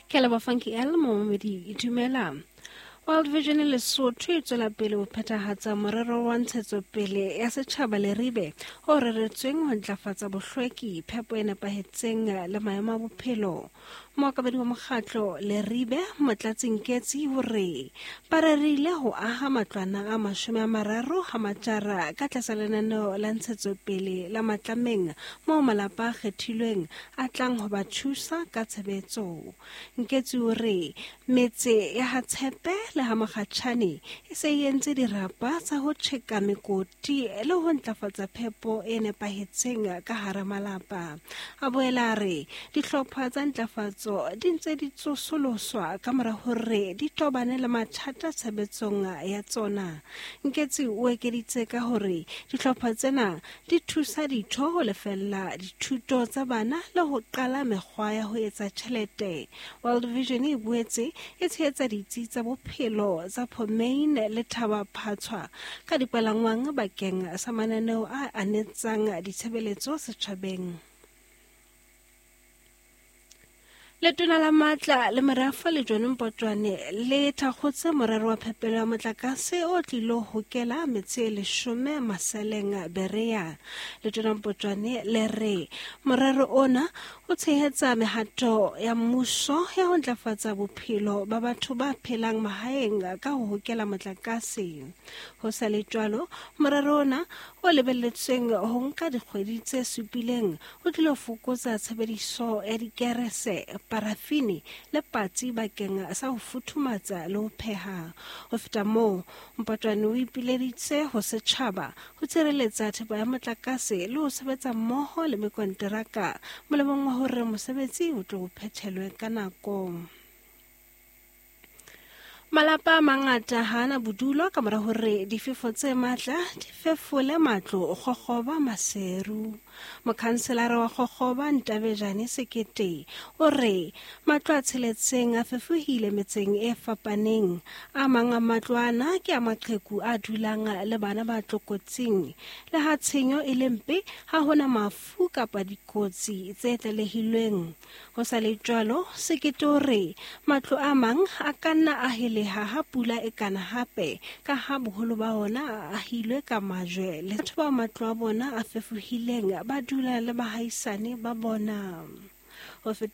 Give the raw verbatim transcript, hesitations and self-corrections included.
Ke leboha Funky L momamedi dumela. World Vision Lesotho e tswela pele ho phethahatsa morero wa ntshetsopele ya setjhaba Leribe o reretsweng ho ntlafatsa bohlweki, phepo e nepahetseng le maemo a bophelo. Mookamedi wa mokgatlo Leribe Motlatsi Nketsi o re ba rerile ho aha matlwana a mashome a mararo ha matjara ka tlasa lenaneo la ntshetsopele la Matlameng moo malapa a kgethilweng a tlang ho ba thusa ka tshebetso. Nketsi o re metse ya Hatshepe le ha Mokgatjhane e se e entse dirapa tsa ho tjheka mekoti le ho ntlafatsa phepo e nepahetseng ka hara malapa. A boela a re dihlopha tsa ntlafatso di ntse di tsosoloswa ka mora hore di tobane le mathata tshebetsong ya tsona. Nketsi o ekeditse ka hore dihlopha tsena di thusa ditho ho lefella dithuto tsa bana le ho qala mekgwa ya ho etsa tjhelete. World Vision e boetse e tshehetsa ditsi tsa bophelo tsa Phomain le Thaba Phatshwa ka dipalangwang bakeng sa mananeo a anetsang ditshebeletso setjhabeng. Letona la matla le merafo le John Mpotwane le thakgotse morero wa phepelo ya motlakase o tlilo hokela metse e leshome Maseleng Berea. Letona Mpotwane le re morero ona o tshehetsa mehato ya mmuso ya ho ntlafatsa bophelo ba batho ba phelang mahaeng ka ho hokela motlakase. Ho sa le jwalo, morero ona o lebelletsweng ho nka dikgwedi tse supileng o tlilo fokotsa tshebediso ya dikerese, parafini le patsi bakeng sa ho futhumatsa le ho pheha. Ho feta moo, Mpotwane o ipileditse ho setjhaba ho tshireletsa thepa ya motlakase le ho sebetsa mmoho le mekonteraka molemong wa hore mosebetsi o tlo phethelwe ka nako. Malapa a mangata ha ana bodulo ka mora hore difefo tse matla di fefole matlo Kgokgoba Maseru. Mokhanselara wa Kgokgoba Ntabejane Sekete o re matlo a tsheletseng a fefohile metseng e fapaneng. A mang a matlo ana ke a maqheku a dulang le bana ba tlokotsing. Le ha tshenyo e le mpe, ha hona mafu kapa dikotsi tse tlalehilweng. Ho sa le jwalo, Sekete o re matlo a mang a ka nna a heleha ha pula e kana hape ka ha boholo ba ona a ahilwe ka majwe le batho ba matlo a bona a fefohileng ba dula le bahaisane ba bona. Ho feta